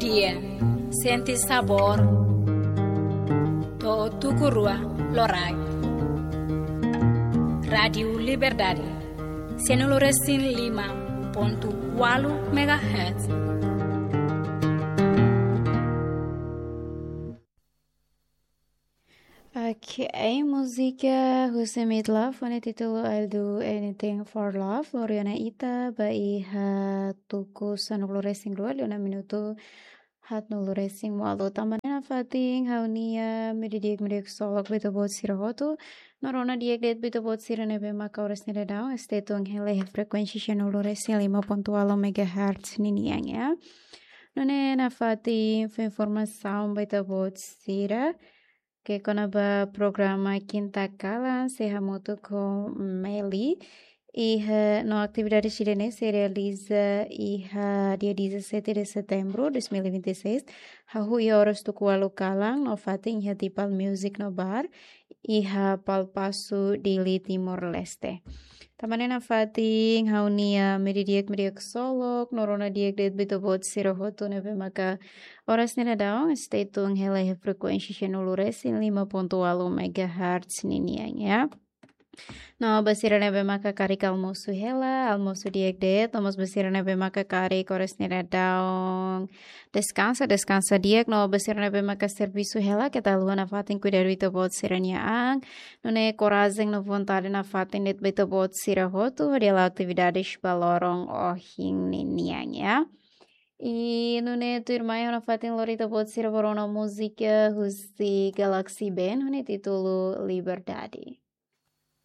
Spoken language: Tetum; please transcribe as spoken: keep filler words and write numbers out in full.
Dia, sente sabór. To'o tuku rua loraik. Rádiu Liberdade, sanulu resin lima pontu ualu megahertz. Ok, múzika husi Meatloaf ho títulu I'll Do Anything for Love, lori ona ita ba iha tuku sanulu resin rua, liu ona minutu haatnulu resin ualu. Tanba ne'e nafatin ha'u-nia mediodía di'ak, mediodía di'ak ksolok ba ita-boot sira hotu. No rona di'ak de'it ba ita-boot sira ne'ebé maka oras ne'e daudaun stay tune hela iha frekuénsia sanulu resin lima pontu ualu megahertz ninian, ya. Nune'e nafatin fó informasaun ba ita-boot sira katak kona-ba programa Kinta Kalan, sei hamutuk ho Meli. Iha, no atividade sira-ne'e sei realiza iha dia dezassete de setembro dois mil e vinte e seis, hahú iha oras tuku ualu kalan, no fatin iha Tipal Music no Bar, iha Palpasu, Dili, Timor-Leste. Tanba ne'e nafatin ha'u-nia mediodía di'ak, mediodía di'ak ksolok, no rona di'ak de'it ba ita-boot sira hotu ne'ebé maka oras ne'e daudaun stay tune hela iha frekuénsia sanulu resin lima pontu ualu megahertz ninian, ya. No ba sira ne'ebé maka karik almosu hela, almosu di'ak de'it, no mós ba sira ne'ebé maka karik oras ne'e daudaun deskansa, deskansa di'ak, no ba sira ne'ebé maka servisu hela, keta haluha nafatin kuidadu ita-boot sira-nia an. Nune'e korajen no vontade nafatin de'it ba ita-boot sira hotu, hodi hala'o atividades ba loron ohin ninian, ya. I nune'e tuirmai ha'u nafatin lori ita-boot sira ba rona múzika husi Galaxy Band, ho títulu Liberdade.